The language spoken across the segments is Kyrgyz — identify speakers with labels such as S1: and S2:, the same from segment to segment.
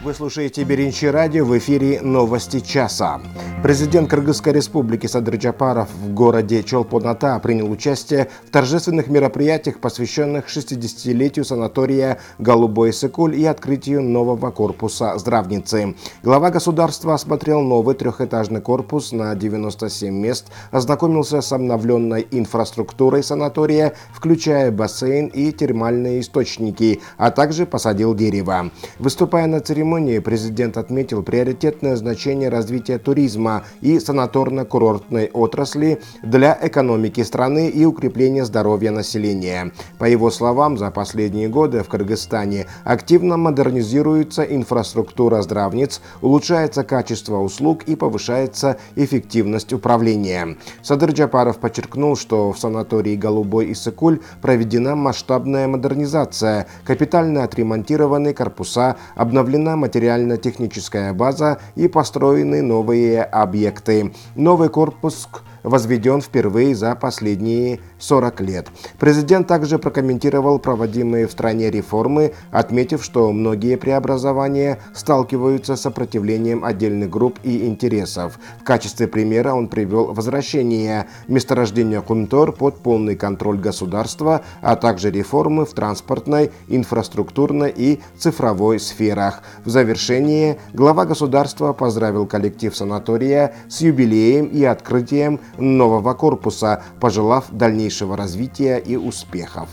S1: Вы слушаете Беринчи радио, в эфире «Новости часа». Президент Кыргызской республики Садыр Жапаров в городе Чолпон-Ата принял участие в торжественных мероприятиях, посвященных 60-летию санатория «Голубой Исыкуль» и открытию нового корпуса здравницы. Глава государства осмотрел новый трехэтажный корпус на 97 мест, ознакомился с обновленной инфраструктурой санатория, включая бассейн и термальные источники, а также посадил дерево. Выступая на церемонии, президент отметил приоритетное значение развития туризма и санаторно-курортной отрасли для экономики страны и укрепления здоровья населения. По его словам, за последние годы в Кыргызстане активно модернизируется инфраструктура здравниц, улучшается качество услуг и повышается эффективность управления. Садыр Жапаров подчеркнул, что в санатории «Голубой Исыкуль» проведена масштабная модернизация, капитально отремонтированы корпуса, обновлена материально-техническая база и построены новые объекты. Новый корпус возведен впервые за последние 40 лет. Президент также прокомментировал проводимые в стране реформы, отметив, что многие преобразования сталкиваются с сопротивлением отдельных групп и интересов. В качестве примера он привел возвращение месторождения Кунтор под полный контроль государства, а также реформы в транспортной, инфраструктурной и цифровой сферах. В завершение глава государства поздравил коллектив санатория с юбилеем и открытием нового корпуса, пожелав дальнейшего развития и успехов.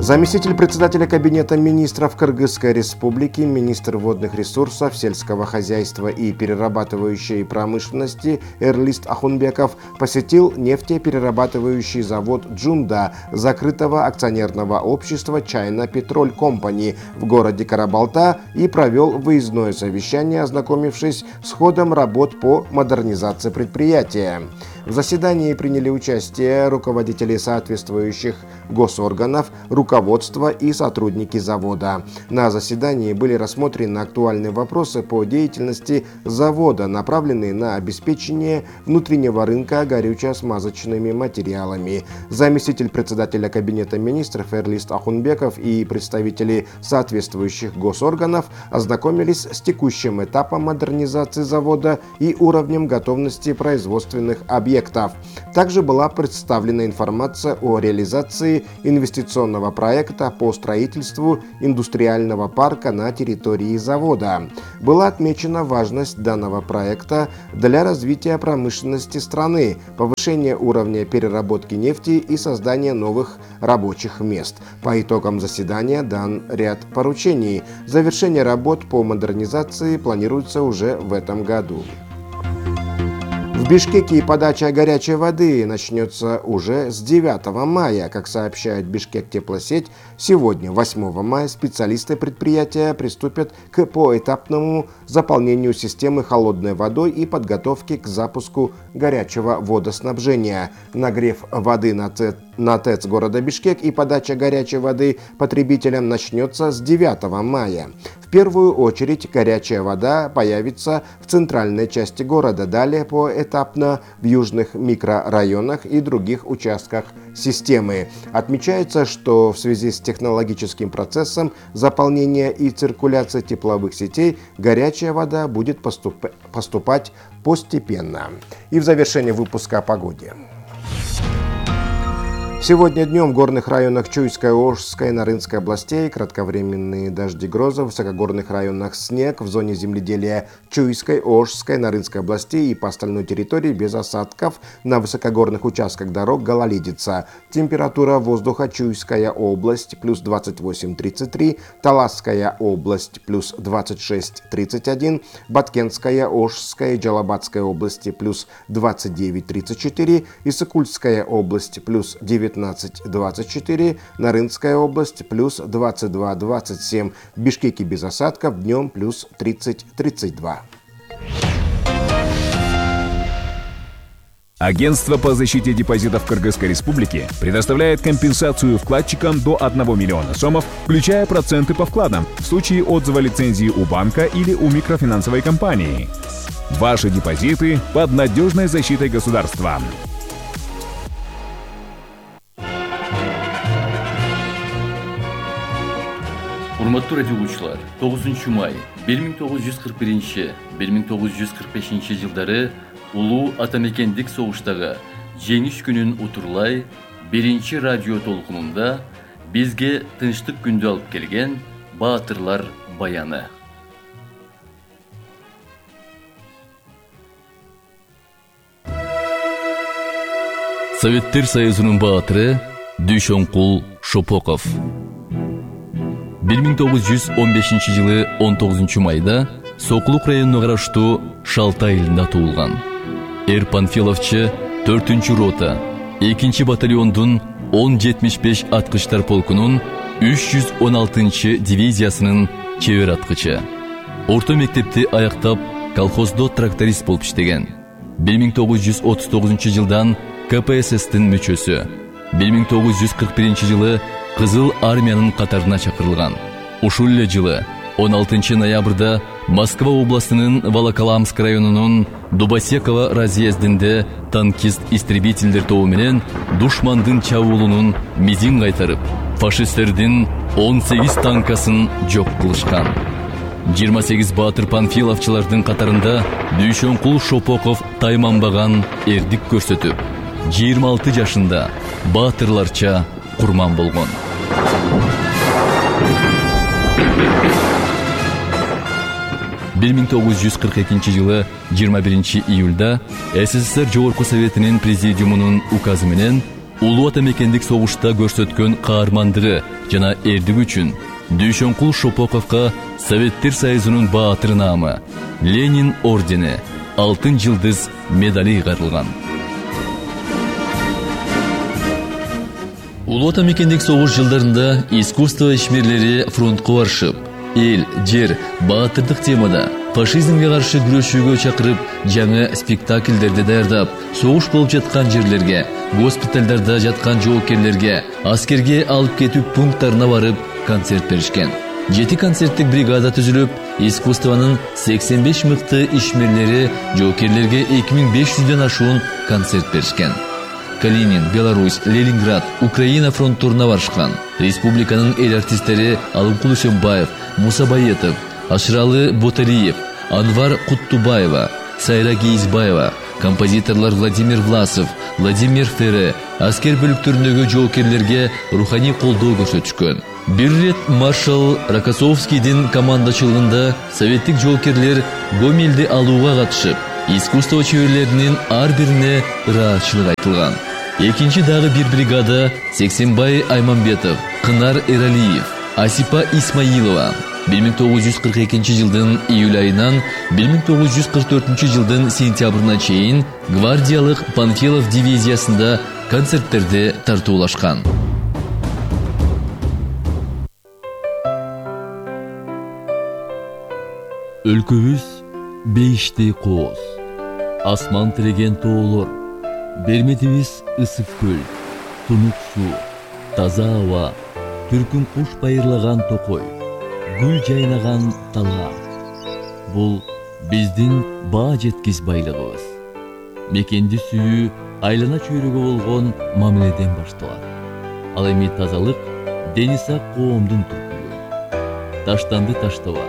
S1: Заместитель председателя Кабинета министров Кыргызской республики, министр водных ресурсов, сельского хозяйства и перерабатывающей промышленности Эрлист Ахунбеков посетил нефтеперерабатывающий завод «Джунда» закрытого акционерного общества China Petrol Company в городе Карабалта и провел выездное совещание, ознакомившись с ходом работ по модернизации предприятия. В заседании приняли участие руководители соответствующих госорганов, руководство и сотрудники завода. На заседании были рассмотрены актуальные вопросы по деятельности завода, направленные на обеспечение внутреннего рынка горюче-смазочными материалами. Заместитель председателя Кабинета министров Эрлист Ахунбеков и представители соответствующих госорганов ознакомились с текущим этапом модернизации завода и уровнем готовности производственных объектов. Также была представлена информация о реализации инвестиционного проекта по строительству индустриального парка на территории завода. Была отмечена важность данного проекта для развития промышленности страны, повышения уровня переработки нефти и создания новых рабочих мест. По итогам заседания дан ряд поручений. Завершение работ по модернизации планируется уже в этом году. В Бишкеке подача горячей воды начнется уже с 9 мая. Как сообщает Бишкек-теплосеть, сегодня, 8 мая, специалисты предприятия приступят к поэтапному заполнению системы холодной водой и подготовке к запуску горячего водоснабжения. Нагрев воды на ТЭЦ города Бишкек и подача горячей воды потребителям начнется с 9 мая. В первую очередь горячая вода появится в центральной части города, далее поэтапно в южных микрорайонах и других участках системы. Отмечается, что в связи с технологическим процессом заполнения и циркуляции тепловых сетей горячая вода будет поступать постепенно. И в завершение выпуска о погоде. Сегодня днем в горных районах Чуйской, Ошской и Нарынской областей кратковременные дожди, грозы, в высокогорных районах снег, в зоне земледелия Чуйской, Ошской, Нарынской областей и по остальной территории без осадков, на высокогорных участках дорог гололедица. Температура воздуха: Чуйская область плюс 28-33, Таласская область плюс 26-31, Баткенская, Ошская и Джалабадская области плюс 29-34, Исыкульская область плюс 19-24, Нарынская область плюс 22-27, в Бишкеке без осадков, днем плюс 30-32.
S2: Агентство по защите депозитов Кыргызской Республики предоставляет компенсацию вкладчикам до 1 миллиона сомов, включая проценты по вкладам, в случае отзыва лицензии у банка или у микрофинансовой компании. Ваши депозиты под надежной защитой государства.
S3: Урматтуу радио угуучулар, 9 май 1941-1945 жылдары улуу атамекендик согуштагы жеңиш күнүн утурлай биринчи радио толкунунда бизге тынчтык күндү алып келген баатырлар баяны. Советтер Союзунун баатыры Дүйшөнкул Шопоков. 1915 жылы 19 майда Сокулук районуна караштуу Шалтай айылында туулган. Панфиловчу 4-чү рота 2-чи батальондун 1075 аткычтар полкунун 316-чы дивизиясынын чебер аткычы. Орто мектепти аяктап, колхоздо тракторист болуп иштеген. 1939 жылдан КПСС-тин мүчөсү. 1941 жылы Кызыл армиянын катарына чакырылган. Ушул эле жылы 16 ноябрда Москва областынын Волоколамск районунун Дубосеково разъездинде танкист-истребительдер тобу менен душмандын чабуулунун мизин кайтарып, фашисттердин 18 танкасын жок кылышкан. 28 баатыр панфиловчулардын катарында Дүйшөнкул Шопоков тайманбаган эрдик көрсөтүп, 26 жашында баатырларча курман болгон. Бир 1942 жылы 21 июлда СССР Жогорку Советинин президиумунун указы менен улуу атамекендик согушта көрсөткөн каармандыгы жана эрдиги үчүн Дүйшөнкул Шопоковго Советтер Союзунун баатыры наамы, Ленин ордени, Алтын жылдыз медали кайрылган. Улуу атамекендик согуш жылдарында искусство ишмерлери фронтко барышып, эл, жер, баатырдык темада фашизмге каршы күрөшүүгө чакырып, жаңы спектакльдерди даярдап, согуш болуп жаткан жерлерге, госпиталдарда жаткан жоокерлерге, аскерге алып кетүү пункттарына барып концерт беришкен. 7 концерттик бригада түзүлүп, искусствонун 85 мыкты ишмерлери жоокерлерге 2500дөн ашуун концерт беришкен. Калинин, Беларусь, Ленинград, Украина фронтторуна барышкан. Республиканын эл артисттери Алымкул Үсөнбаев, Муса Баетов, Ашыралы Боталиев, Анвар Куттубаева, Сайра Гейзбаева, композиторлор Владимир Власов, Владимир Фере аскер бөлүктөрүндөгү жоокерлерге руханий колдоо көрсөтүшкөн. Бир рет маршал Рокоссовскийдин командачылыгында советтик жоокерлер Гомельди алууга катышып, искусство чеберлеринин ар бирине ыраатчылык айтылган. Экинчи дагы бир бригада Сексенбай Айманбетов, Кынар Эралиев, Асипа Исмаилова 1942 жылдын июль айынан 1944 жылдын сентябрына чейин гвардиялык Панфилов дивизиясында концерттерди тартуулашкан. Өлкөбүз бейиштей кооз, асман тиреген тоолор, берметибиз ысык көл, тунук суу, таза аба, түркүн куш байырлаган токой, гүл жайнаган талаа. Бул биздин баа жеткис байлыгыбыз. Мекенди сүйүү айлана чөйрөгө болгон мамиледен башталат. Ал эми тазалык дени сак коомдун түркүлүгү. Таштанды таштаба,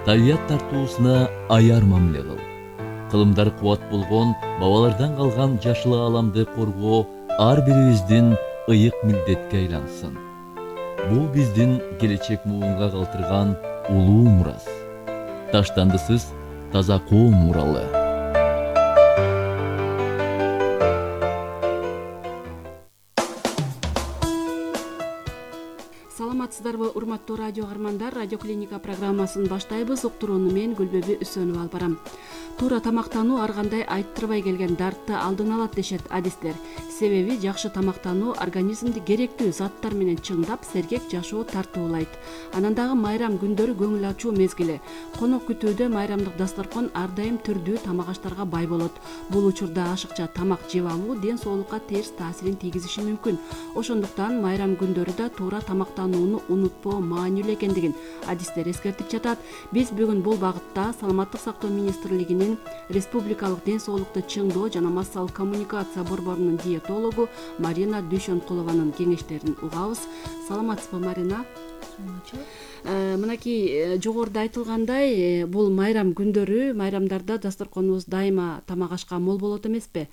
S3: табият тартуусуна аяр мамиле кыл. Кылымдар кубат болгон бабалардан калган жашыл ааламды коргоо ар бирибиздин ыйык милдетке айлансын. Бул биздин келечек муунга калтырган улуу мурас. Таштандысыз таза коом муралы.
S4: Саламатсыздарбы, урматтуу радио каармандар, радио клиника программасын баштайбыз. Уктурууну мен Гүлбөбү Үсөнүп алып барам. Туура тамактануу ар кандай айттырбай келген дартты алдын алат дешет адистер. Себеби жакшы тамактануу организмди керектүү заттар менен чыңдап, сергек жашоо тартуулайт. Анан дагы майрам күндөрү көңүл ачуу мезгили. Конок күтүүдө майрамдык дасторкон ар дайым түрдүү тамак аштарга бай болот. Бул учурда ашыкча тамак жеп алуу ден соолукка терс таасирин тийгизиши мүмкүн. Ошондуктан майрам күндөрү да туура тамактанууну унутпоо маанилүү экендигин адистер эскертип жатат. Биз бүгүн бул багытта Саламаттык сактоо министрлигинин Республикалык ден соолукту чыңдоо жана массалык коммуникация борборунун диетологу Марина Дүйшөнкулованын кеңештерин угабыз. Саламатсызбы, Марина? Мынакей жогоруда айтылгандай, бул майрам күндөрү, майрамдарда дасторконубуз дайыма тамак ашка мол болот эмеспи?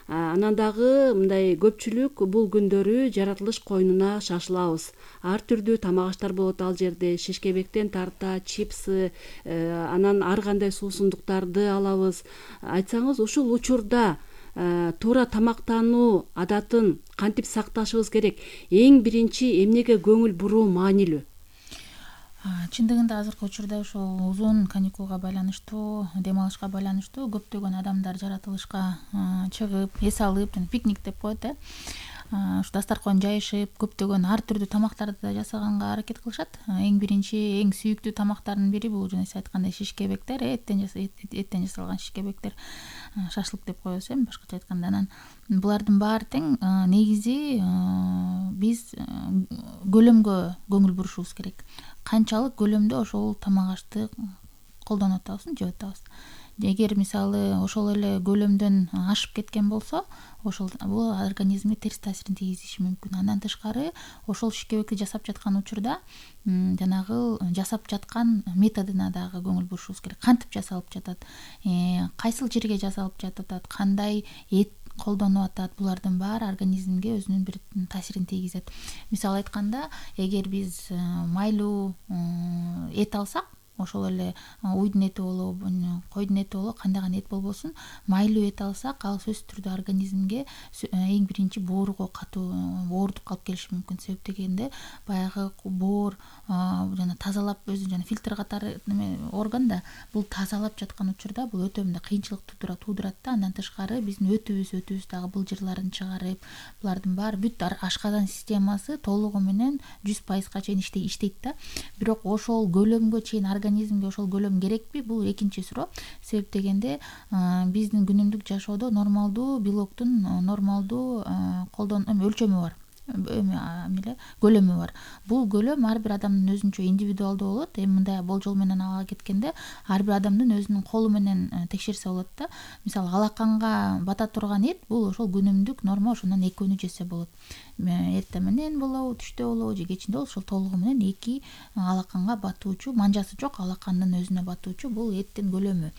S4: Анан дагы мындай көпчүлүк бул күндөрү жаратылыш коюнуна шашылабыз. Ар түрдүү тамак аштар болот ал жерде. Шишкебектен тарта, чипсы, анан ар кандай суусундуктарды алабыз. Айтсаңыз, ушул учурда туура тамактануу адатын кантип сакташыбыз керек? Эң биринчи эмнеге көңүл буруу маанилүү?
S5: Чындыгында азыркы учурда ошол узун каникулга байланыштуу, дем алышка байланыштуу көптөгөн адамдар жаратылышка чыгып, эс алып, пикник деп коет, ушу дасторкон жайышып, көптөгөн ар түрдүү тамактарды да жасаганга аракет кылышат. Эң биринчи, эң сүйүктүү тамактардын бири бул жана сиз айткандай шишкебектер, эттен жасалган шишкебектер, шашлык деп коебуз, башкача айтканда. Анан булардын баары тең негизи биз көлөмгө көңүл бурушубуз керек. Канчалык көлөмдө ошол тамак ашты колдонуп атабызбы, жеп атабыз. Эгер мисалы ошол эле көлөмдөн ашып кеткен болсо, ошол бул организмге терс таасирин тийгизиши мүмкүн. Андан тышкары ошол шишкебекти жасап жаткан учурда жанагы жасап жаткан методуна дагы көңүл бурушубуз керек. Кантип жасалып жатат, кайсыл жерге жасалып жатат, кандай эт колдонуп атат, булардын баары организмге өзүнүн бир таасирин тийгизет. Мисалы айтканда, эгер биз майлуу эт алсак, ошол эле уйдун эти болобу, койдун эти болобу, кандай гана эт болбосун, майлуу эт алсак, ал сөзсүз түрдө организмге эң биринчи боорго катуу оорутуп калып келиши мүмкүн. Себеп дегенде баягы боор жана тазалап өзү жана фильтр катары орган да, бул тазалап жаткан учурда бул өтө мындай кыйынчылык туудурат да. Андан тышкары биздин өтүбүз дагы былжырларын чыгарып, булардын баары бүт ашказан системасы толугу менен 100%га чейин иштейт да. Бирок ошол көлөмгө чейин организмге ошол көлөм керекпи? Бул экинчи суроо. Себеп дегенде биздин күнүмдүк жашоодо нормалдуу белоктун нормалдуу өлчөмү бар. Көлөмү бар. Бул көлөм ар бир адамдын өзүнчө индивидуалдуу болот. Мындай болжол менен ала кеткенде ар бир адамдын өзүнүн колу менен текшерсе болот да. Мисалы алаканга бата турган эт бул ошол күнүмдүк норма, ошондон 2 жесе болот. Эртең менен болобу, түштө болобу же кечинде болобу, ошол толугу менен 2 алаканга батуучу, манжасы жок алакандын өзүнө батуучу бул эттин көлөмү.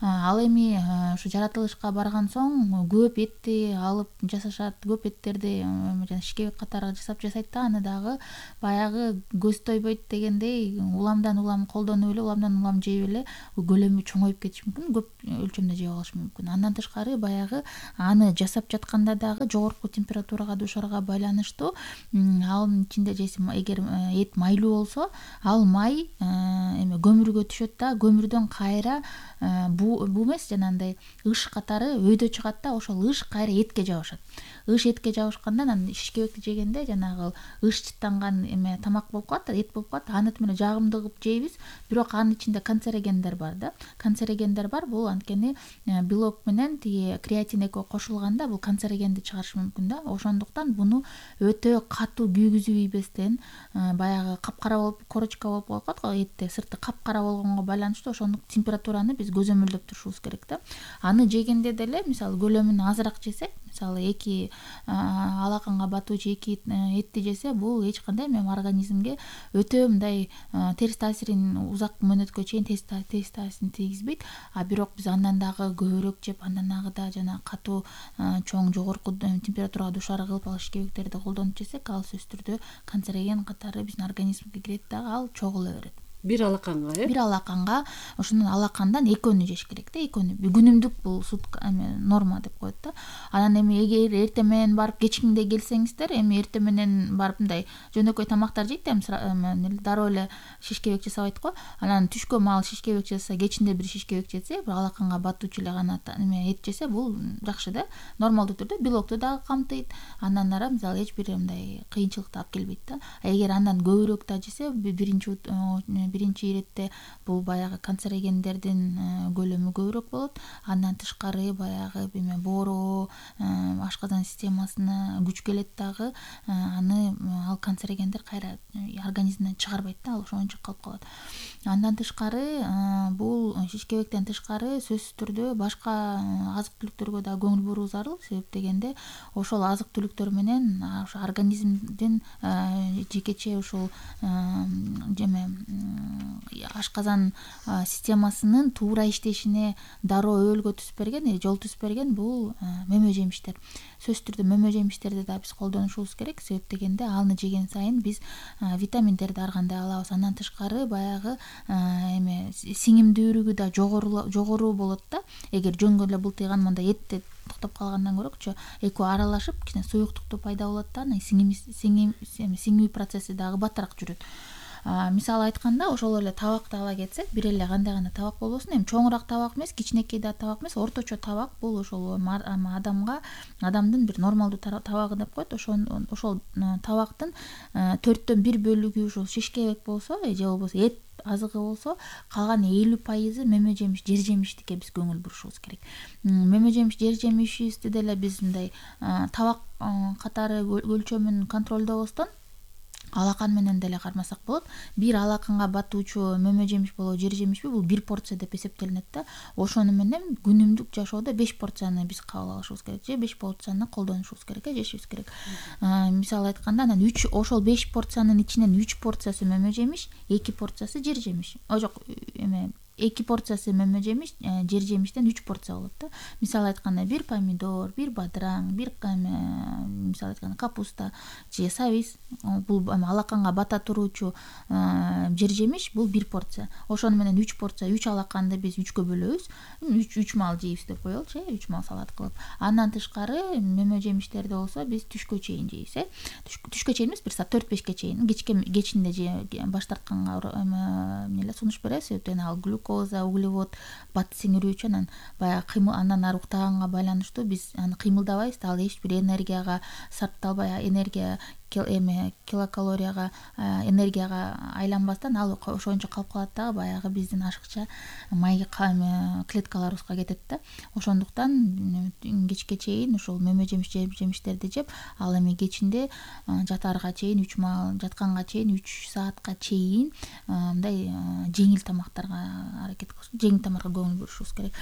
S5: Ал эми ушу жаратылышка барган соң көп этти алып жасашат, көп эттерди жана шишкебек катары жасайт да, аны дагы баягы көз тойбойт дегендей уламдан улам колдонуп эле, уламдан улам жеп эле көлөмү чоңоюп кетиши мүмкүн, көп өлчөмдө жеп алышы мүмкүн. Андан тышкары баягы аны жасап жатканда дагы жогорку температурага душарга байланыштуу, анын ичинде эгер эт майлуу болсо, ал май көмүргө түшөт да, көмүрдөн кайра буу эмес, жанагындай ыш катары өйдө чыгат да, ошол ыш кайра этке жабышат. Ыш этке жабышканда анан шишкебекти жегенде жанагы ыш чыттанган тамак болуп калат, эт болуп калат. Аны менен жагымдуу кылып жейбиз, бирок анын ичинде канцерогендер бар да. Канцерогендер бар, бул анткени белок менен тиги креатин экөө кошулганда бул канцерогенди чыгарышы мүмкүн да. Ошондуктан буну өтө катуу күйгүзүп ийбестен, баягы капкара болуп, корочка болуп калат го этте, сырты капкара болгонго байланыштуу ошондук температураны биз көзөмөлдөп турушубуз керек да. Аны жегенде деле мисалы көлөмүн азыраак жесек, мисалы 2 алаканга батуучу 2 этти жесе, бул эч кандай организмге өтө мындай терс таасирин узак мөөнөткө чейин терс таасирин тийгизбейт. Бирок биз андан дагы көбүрөөк жеп, андан дагы да жана катуу чоң жогорку температурага душар кылып ал шишкебектерди колдонуп жесек, ал сөзсүз түрдө канцероген катары биздин организмге кирет дагы, ал чогула берет.
S4: Бир алаканга,
S5: Бир алаканга, ошондон алакандан 2 жеш керек да, 2. Күнүмдүк бул норма деп коет да. Анан эми эгер эртең менен барып кечкиңде келсеңиздер, эми эртең менен барып мындай жөнөкөй тамактар жейт, дароо эле шишкебек жасабайт го. Анан түшкө маал шишкебек жаса, кечинде бир шишкебек жесе, бир алаканга батуучу эле гана эт жесе, бул жакшы да. Нормалдуу түрдө белокту дагы камтыйт. Андан ары мисалы эч бир мындай кыйынчылыкты алып келбейт да. Эгер андан көбүрөөк да жесе, биринчи биринчи иретте бул баягы канцерогендердин көлөмү көбүрөөк болот. Андан тышкары баягы боороо, ашказан системасына күч келет дагы. Аны ал канцерогендер кайра организмден чыгарбайт да, ал ошончо калып калат. Андан тышкары бул шишкебектен тышкары сөзсүз түрдө башка азык түлүктөргө да көңүл буруу зарыл. Себеп дегенде ошол азык түлүктөр менен ошо организмдин жекече ушул ашказан системасынын туура иштешине дароо өбөлгө түзүп берген, жол түзүп берген бул мөмө жемиштер. Сөзсүз түрдө мөмө жемиштерди да биз колдонушубуз керек. Себеп дегенде аны жеген сайын биз витаминдерди ар кандай алабыз. Андан тышкары баягы сиңимдүүлүгү да жогору болот да. Эгер жөнгө эле бултыйган мындай этте токтоп калгандан көрөчү экөө аралашып кичине суюктукту пайда болот да, сиңүү процесси дагы баттыраак жүрөт. Мисалы айтканда, ошол эле табакты ала кетсек, бир эле кандай гана табак болбосун, эми чоңураак табак эмес, кичинекей да табак эмес, орточо табак бул ошол адамдын бир нормалдуу табагы деп коет. Ошол табактын 4/1 бөлүгү ушул шишкебек болсо, же болбосо эт азыгы болсо, калган 50% мөмө жемиш, жер жемиштикке биз көңүл бурушубуз керек. Мөмө жемиш, жер жемишибизди деле биз мындай табак катары өлчөмүн контролдобостон алакан менен деле кармасак болот. Бир алаканга батуучу мөмө жемиш болобу, жер жемишпи, бул 1 порция деп эсептелинет да. Ошону менен күнүмдүк жашоодо 5 порцияны биз кабыл алышыбыз керек, же 5 порцияны колдонушубуз керек, жешибиз керек. Мисалы айтканда, анан ошол 5 порциянын ичинен 3 порциясы мөмө жемиш, 2 порциясы жер жемиш. Жок, 2 порциясы мөмө жемиш, жер жемиштен 3 порция болот да. Мисалы айтканда, бир помидор, бир бадыраң, бир мисалы айтканда капуста же сабиз, бул алаканга бата туруучу жер жемиш, бул 1 порция. Ошону менен 3 порция, 3 алаканды биз 3кө бөлөбүз. 3 мал жейбиз деп коелучу, 3 мал салат кылып. Андан тышкары мөмө жемиштерди болсо биз түшкө чейин жейбиз, түшкө чейин эмес, 1 саат 4-5ке чейин, кечинде же баш тартканга сунуш беребиз. Себептен ал глюкоза, углевод бат сиңирүүчү, анан баягы кыймыл, андан ары уктаганга байланыштуу биз аны кыймылдабайбыз, ал эч бир энергияга сарпталбай, килокалорияга, энергияга айланбастан ал ошончо калып калат дагы, баягы биздин ашыкча май клеткаларыбызга кетет да. Ошондуктан кечке чейин ушул мөмө жемиштерди жеп, ал эми кечинде жатаарга чейин 3 мал, жатканга чейин 3 саатка чейин мындай жеңил тамактарга жеңил тамакка көңүл бурушубуз керек.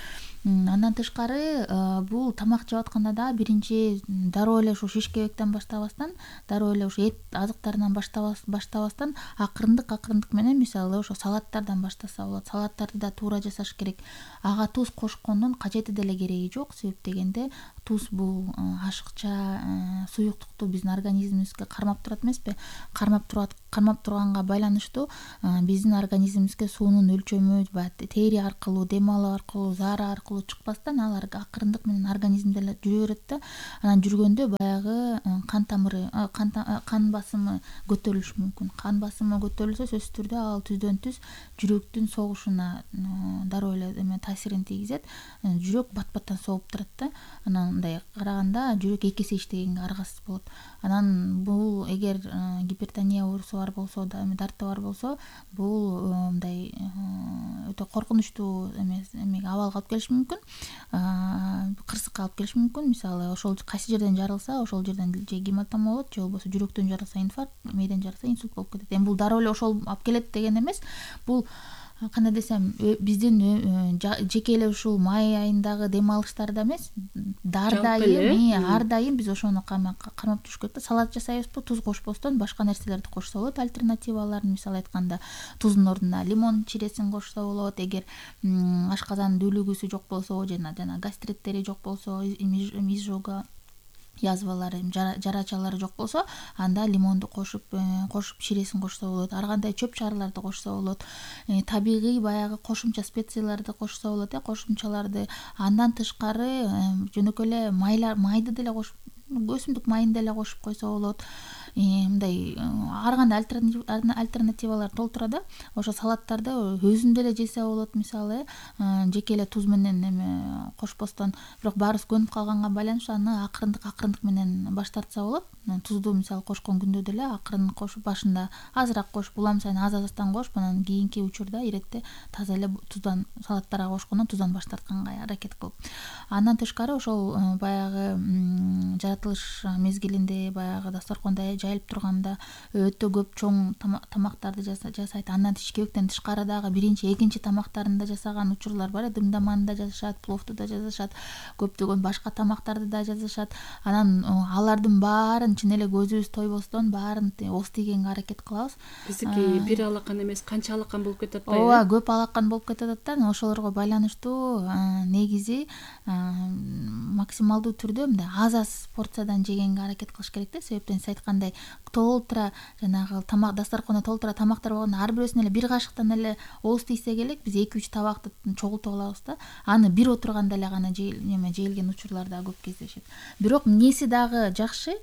S5: Андан тышкары бул тамак жеп атканда да биринчи дароо эле ушу шишкебектен баштабастан, дароо эле ушу эт азыктарынан баштабастан акырындык менен, мисалы ошо салаттардан баштаса болот. Салаттарды да туура жасаш керек. Ага туз кошкондун кажети деле кереги жок. Себеп дегенде туз бул ашыкча суюктукту биздин организмибизге кармап турат эмеспи? Кармап турганга байланыштуу биздин организмибизге суунун өлчөмү тери аркылуу, дем алуу аркылуу, заара аркылуу чыкпастан ал акырындык менен организмде эле жүрө берет да. Анан жүргөндө баягы кан басымы көтөрүлүшү мүмкүн. Кан басымы көтөрүлсө, сөзсүз түрдө ал түздөн түз жүрөктүн согушуна дароо эле таасирин тийгизет. Жүрөк бат-баттан согуп турат да. Анан мындай караганда жүрөк 2 эсе иштегенге аргасыз болот. Анан бул эгер гипертония оорусу бар болсо, дарты бар болсо, бул мындай өтө коркунучтуу абалга алып келиши мүмкүн. Кырсыкка алып келиши мүмкүн. Мисалы, ошол кайсы жерден жарылса, ошол жерден же гематома болот, же болбосо жүрөктөн жарылса инфаркт, мээден жарылса инсульт болуп кетет. Эми бул дароо эле ошол алып келет деген эмес. Бул кандай десем, биздин жеке эле ушул май айындагы дем алыштарда эмес, ар дайым биз ошону кармап жүрүш керек да. Салат жасайбызбы, туз кошпостон башка нерселерди кошсо болот. Альтернативаларын, мисалы айтканда, туздун ордуна лимон чиресин кошсо болот. Эгер ашказан дүүлүгүсү жок болсо, жана гастриттери жок болсо, изжога язвалары, жарачалары жок болсо, анда лимонду кошуп чиресин кошсо болот. Ар кандай чөп чарыларды кошсо болот. Табигый баягы кошумча специяларды кошсо болот, кошумчаларды. Андан тышкары жөнөкөй эле майды деле кошуп, өсүмдүк майын деле кошуп койсо болот. мындай ар кандай альтернативалар толтура да. Ошо салаттарды өзүн деле жесе болот мисалы, жеке эле туз менен эме кошпостон. Бирок баарыбыз көнүп калганга байланыштуу аны акырындык менен баш тартса болот. Тузду мисалы кошкон күндө деле акырын кошуп, башында азыраак кошуп, улам сайын аз-аздан кошуп, анан кийинки учурда иретте таза эле туздан салаттарга кошкондон туздан баш тартканга аракет кылып. Андан тышкары ошол баягы жаратылыш мезгилинде баягы дасторкондо жайылып турганда өтө көп чоң тамактарды жасайт. Андан тишкебектен тышкары дагы биринчи, экинчи тамактарын да жасаган учурлар бар. Дымдаманы да жасашат, пловду да жасашат, көптөгөн башка тамактарды да жасашат. Анан алардын баарын чын эле көзүбүз тойбостон баарын ооз тийгенге аракет кылабыз.
S4: Биздики бир алакан эмес, канча алакан болуп кетип атпайбы?
S5: Ооба, көп алакан болуп кетип атат да. Ошолорго байланыштуу негизи максималдуу түрдө мындай аз порциядан жегенге аракет кылыш керек да. Себептен сиз айткандай толтура жанагы тамак дасторкондо толтура тамактар болгондо ар бирөөсүн эле бир кашыктан эле ооз тийсек элек биз 2-3 табакты чогултуп алабыз да. Аны бир отурганда эле гана жейилген учурлар да көп кездешет. Бирок эмнеси дагы жакшы,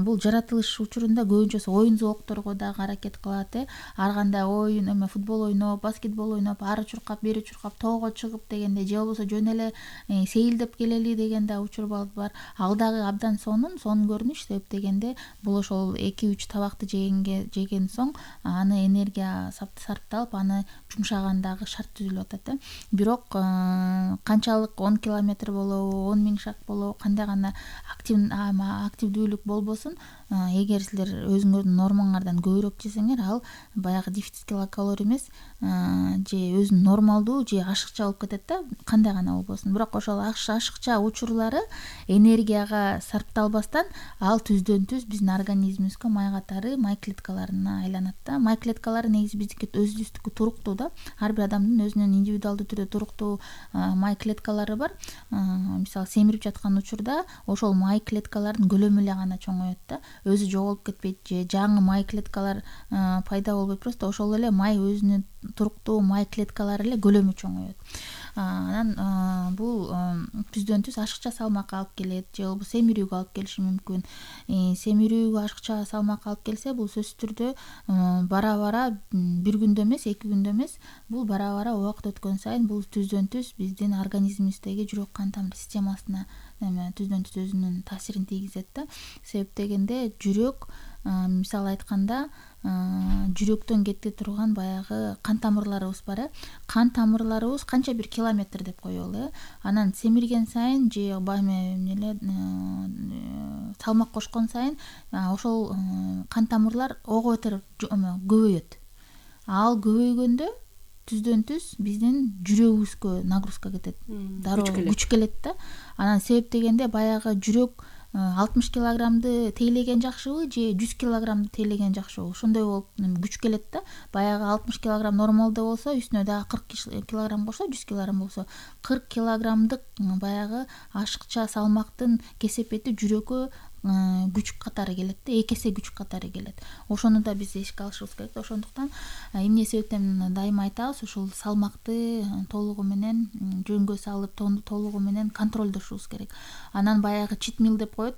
S5: бул жаратылыш учурунда көбүнчөсү оюн зоокторго дагы аракет кылат. Ар кандай оюн, футбол ойноп, баскетбол ойноп, ары чуркап, бери чуркап, тоого чыгып дегенде, же болбосо жөн эле сейилдеп келели деген да учур бар. Ал дагы абдан сонун көрүнүш. Себеп дегенде бул ошол 2-3 табакты жеген соң аны энергия сарпталып, аны жумшагандагы шарт түзүлүп атат. Бирок канчалык 10 километр болобу, 10 000 шаг болобу, кандай гана активдүүлүк болбосун, эгер силер өзүңөрдүн нормаңардан көбүрөөк жесеңер, ал баягы дефицит килокалорий эмес, же өзүнүн нормалдуу же ашыкча болуп кетет да, кандай гана болбосун. Бирок ошол ашыкча учурлары энергияга сарпталбастан ал түздөн түз биздин организмибизге май катары май клеткаларына айланат да. Май клеткалары негизи биздики өзүбүздүкү туруктуу да. Ар бир адамдын өзүнүн индивидуалдуу түрдө туруктуу май клеткалары бар. Мисалы семирип жаткан учурда ошол май клеткалардын көлөмү эле гана чоңоет да. Өзү жоголуп кетпейт же жаңы май клеткалар пайда болбойт, просто ошол эле май өзүнүн туруктуу май клеткалары эле көлөмү чоңоет. Анан бул түздөн түз ашыкча салмакка алып келет, же болбосо семирүүгө алып келиши мүмкүн. Семирүүгө ашыкча салмак алып келсе, бул сөзсүз түрдө бара-бара бир күндө эмес, 2 күндө эмес, бул бара-бара убакыт өткөн сайын бул түздөн түз биздин организмибиздеги жүрөк кан тамыр системасына түздөн түз өзүнүн таасирин тийгизет да. Себеп дегенде жүрөк, мисалы айтканда, жүрөктөн кете турган баягы кан тамырларыбыз бар. Кан тамырларыбыз канча бир километр деп коелу. Анан семирген сайын же салмак кошкон сайын ошол кан тамырлар ого бетер көбөйөт. Ал көбөйгөндө түздөн түз биздин жүрөгүбүзгө нагрузка кетет, дароо күч келет да. Анан себеп дегенде баягы жүрөк 60 килограммды тейлеген жакшыбы же 100 килограммды тейлеген жакшыбы, ошондой болуп күч келет да. Баягы 60 килограмм нормалда болсо, үстүнө дагы 40 килограмм кошсо, 100 килограмм болсо, 40 килограммдык баягы ашыкча салмактын кесепети жүрөккө күч катары келет да, 2 эсе күч катары келет. Ошону да биз эске алышыбыз керек. Ошондуктан эмне себептен дайыма айтабыз, ушул салмакты толугу менен жөнгө салып, толугу менен контролдошубуз керек. Анан баягы чит мил деп коет,